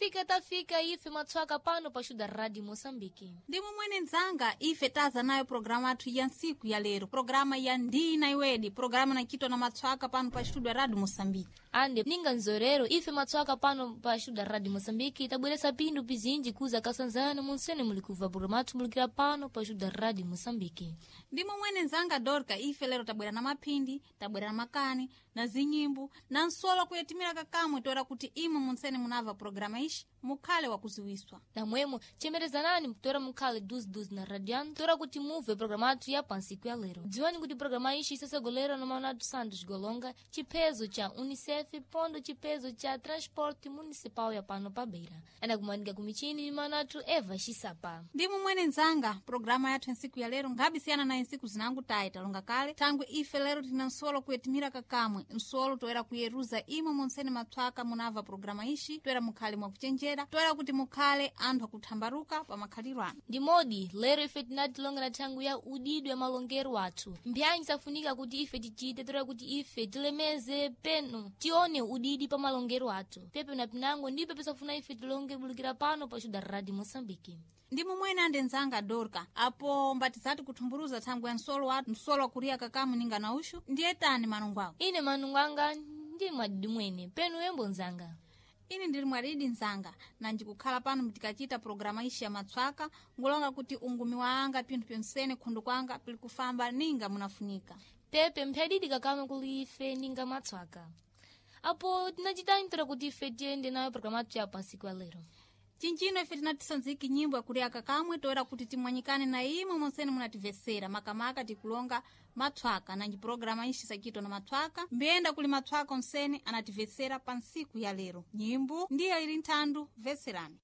Kufika tafika ife matswaka pano pa Xuda Rádio Moçambique. Ndimwe mwene nzanga ife taza nayo programa athu ya ntsiku ya lero, programa ya ndina iwedi, programa nachitwa na matswaka pano pa Studio Radio Moçambique. Ande ninga nzorero ife matswaka pano pa Xuda Rádio Moçambique tabweresa pindu pizinji kuza kasanzana munsene mulikuva programa athu mulikira pano pa Xuda Rádio Moçambique. Ndimwe mwene nzanga Dorka, ife lero tabwera na maphindi, tabwera na makani, na zinyimbo, na nsolo kuyetimira kakamwe toera kuti imwe munsene munava programa ishi mukhale wakuziwiswa. Namwemo chemerezanani mkutora mukhale duziduzi na radiano tora kuti muve programa athu ya pansiku ya lero. Dziwani kuti programa ishi isasogolera na Manuel Santos Golonga, chipezo cha Unicef pondo chipezo cha transporte municipal ya pano pa Beira. Anakumanika kumichini manatu Eva Xisapa. Ndimwe mwene nzanga programa yathu ntsiku ya lero ngabisiyana na ntsiku zinangu tayi talonga kale thangwe ife lero tina nsolo kuyetimira kakamwe nsolo toera kuyeruza imwe munsene matswaka munava programa ishi toera mukhale mwakuchenjera toera kuti mukhale anthu akuthambaruka pa makhaliro anu. Ndimodi lero ife tinatilonga na thangwi ya udidwe ya malongero athu. Mbyanyi safunika kuti ife tichite toera kuti ife tilemeze peno tione udidi pa malongero athu. Pepe na pinango ndipo pisafuna ife tilonge bulukira pano pa Xuda Rádio Moçambique. Ndimwe mwene ande nzanga Dorka apo mbatizati kuthumburuza thangwe ya nsolo wathu nsolo wakuriya kakamu ninga na uxu ndiye tani manungu ako. Ine manungu anga ndi mwadidi mwene penu yembo nzanga. Ini ndili mwaridi nzanga na ndikukhala pano mtikachita programa ishi ya matswaka ngulonga kuti ungumi wa anga pinthu pyonsene khundu kwanga pili kufamba ninga munafunika. Pepe mphadidi kakame kuli ife ninga matswaka. Apo tinachitani toera kuti ife tiyende nayo programa athu ya pansiku ya lero. Cinjino ife tinatisanziki nyimbo yakulya kakamwe toera kuti timwanyikane na imwe monsene munativesera makamaka tikulonga matswaka nanji programa ishi sakitwa na matswaka mbiyenda kuli matswaka onsene anativesera pa ntsiku ya lero. Nyimbo ndiye ili nthandu veserani.